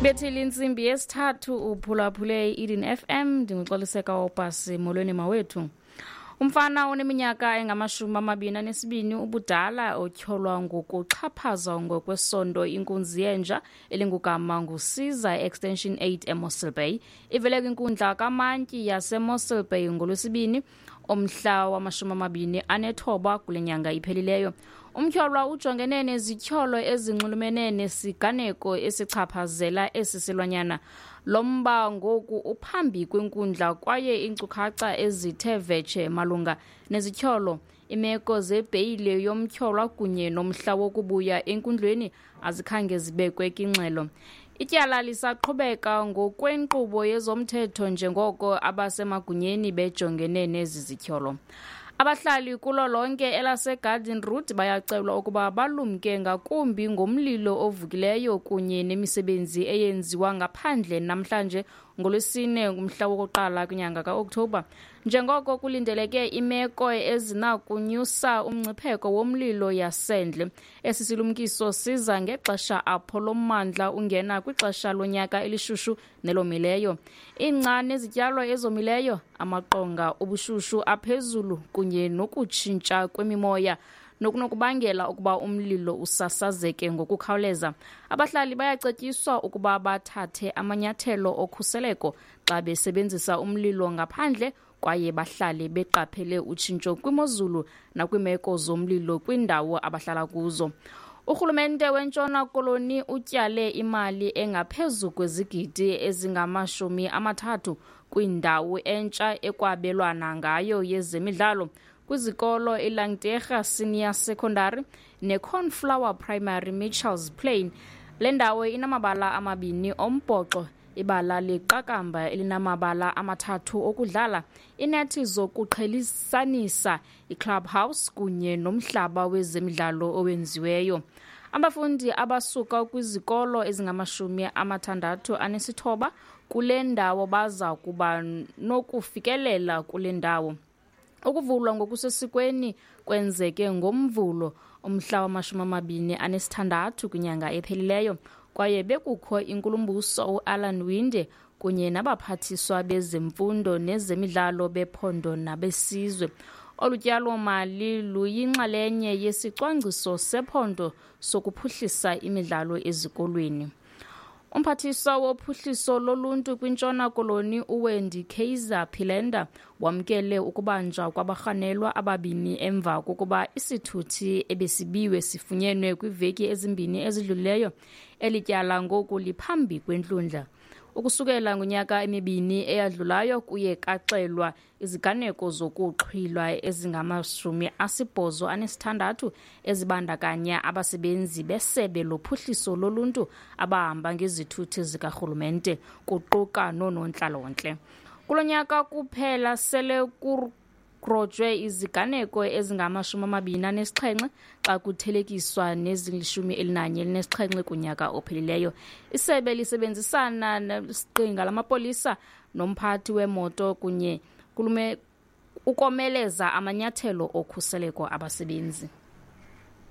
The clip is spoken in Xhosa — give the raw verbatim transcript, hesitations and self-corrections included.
Bethile intsimbi yesithathu, uphulaphule i-Eden F M. Ndinguxoliseka Opasi. Molweni mawethu. Umfana oneminyaka engamashumi amabini anesibini ubudala otyholwa ngokuxhaphaza ngokwesondo inkunzi yenja elingugama nguSiza Extension eight eMossel Bay ivele kwinkundla kamantyi yaseMossel Bay ngoLwesibini omhla wamashumi amabini anethoba kule nyanga iphelileyo. Umtyholwa ujongene nezityholo ezinxulumene nesiganeko esichaphazela esi silwanyana. Lo mba ngoku uphambi kwenkundla kwaye iinkcukacha ezithe vetshe malunga nezityholo, imeko zebheyile yomtyholwa kunye nomhla wokubuya enkundleni azikhange zibekwe kwingxelo. Ityala lisaqhubeka ngokwenkqubo yezomthetho njengoko abasemagunyeni bejongene nezi zityholo. Abahlali kulo lonke elaseGarden Route bayacelwa ukuba balumke ngakumbi ngomlilo ovukileyo kunye nemisebenzi eyenziwa ngaphandle namhlanje ngoLwesine ngumhla wokuqala kwinyanga kaOkthobha, njengoko kulindeleke imeko ezinakunyusa umngcipheko womlilo yasendle. Esi silumkiso siza ngexesha apho lo mmandla ungena kwixesha lonyaka elishushu nelomileyo. Ingca nezityalo ezomileyo, amaqonga obushushu aphezulu kunye nokutshintsha kwemimoya nokunokubangela ukuba umlilo usasazeke ngokukhawuleza. Abahlali bayacetyiswa ukuba bathathe amanyathelo okhuseleko xa besebenzisa umlilo ngaphandle kwaye bahlale beqaphele utshintsho kwimozulu nakwiimeko zomlilo kwiindawo abahlala kuzo. Urhulumente weNtshona Koloni utyale imali engaphezu kwezigidi ezingamashumi amathathu kwindawo entsha ekwabelwana ngayo yezemidlalo kwizikolo iLangtegra Senior Secondary neCornflower Primary, Mitchells Plain. Le ndawo inamabala amabini ombhoxo, ibala leqakamba elinamabala amathathu okudlala, inethi zokuqhelisanisa, iclubhouse kunye nomhlaba wezemidlalo owenziweyo. Abafundi abasuka kwizikolo ezingamashumi amathandathu anesithoba kule ndawo baza kuba nokufikelela kule ndawo. Ukuvulwa ngokusesikweni kwenzeke ngoMvulo umhla wamashumi amabini anesithandathu kwinyanga ephelileyo kwaye bekukho inkulumbuso uAllan Winde kunye nabaphathiswa bezemfundo nezemidlalo bephondo nabesizwe. Olu tyalo-mali luyinxalenye yesicwangciso sephondo sokuphuhlisa imidlalo ezikolweni. Umphathiswa wophuhliso loluntu kwiNtshona Koloni uWendy Kaiser Philander wamkele ukubanjwa kwabarhanelwa ababini emva kokuba isithuthi ebesibiwe sifunyenwe kwiiveki ezimbini ezidlulileyo. Eli tyala ngoku liphambi kwenkundla. Ukusukela ngonyaka emibini eyadlulayo kuye kaxelwa iziganeko zokuxhwilwa ezingamashumi asibhozo anesithandathu ezibandakanya abasebenzi besebe lophuhliso loluntu abahamba ngezithuthi zikarhulumente kuquka noonontlalontle. Kulo nyaka kuphela sele kugrojwe iziganeko ezingamashumi amabini anesixhenxe xa kuthelekiswa nezilishumi elinanye elinesixhenxe kunyaka ophelileyo. Isebe lisebenzisana nesiqinga lamapolisa nomphathi wemoto kunye kulume ukomeleza amanyathelo okhuseleko abasebenzi.